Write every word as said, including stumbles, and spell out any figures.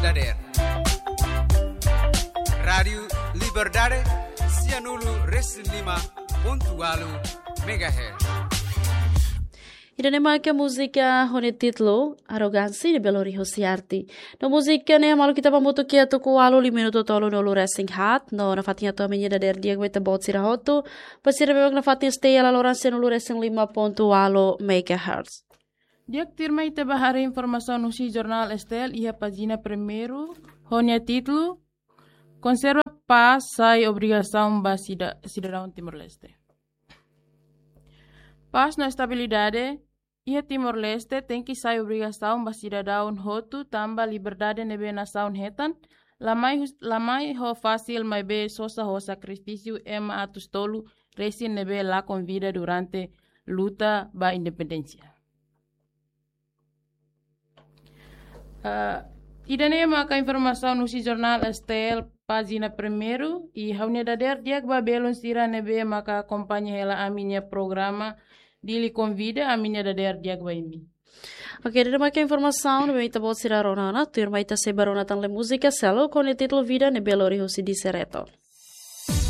Dader. Rádiu Liberdade, sianulu resin lima pontu walu megahertz. Ida-ne'e maka múzika ho nia títulu Arrogância de Belo Horizonte. No múzika ne'e malu kita pamutu kia tuku walu li minutu tolu no lu resin hat, no nafatin atu ami-nia dader di'ak ba ita-boot sira hotu, ba sira ne'ebé nafatin stay ala loran sianulu resin lima pontu walu megahertz. Di'ak, tuirmai ita ba haree informasaun husi jornál S T L iha pájina primeiru, ho nia títulu, Konserva pás sai obrigasaun ba sida-, sidadaun Timor-Leste. Pás no estabilidade iha Timor-Leste tenke sai obrigasaun ba sidadaun hotu tanba liberdade ne'ebé nasaun hetan, la mai hus-, la mai ho fasil maibé sosa ho sakrifísiu ema atus tolu resin ne'ebé lakon vida durante luta ba independénsia. Ah, ida-ne'e maka informasaun husi jornál S T L pájina primeiru, i ha'u-nia dader di'ak ba belun sira ne'ebé maka akompaña hela ami-nia programa Dili Konvida, ami-nia dader di'ak ba imi. Oke, ida-ne'e maka informasaun ne'ebé ita-boot sira rona ona, tuirmai ita sei ba rona tan le múzika seluk ho nia títulu Vida ne'ebé lori husi Disereto.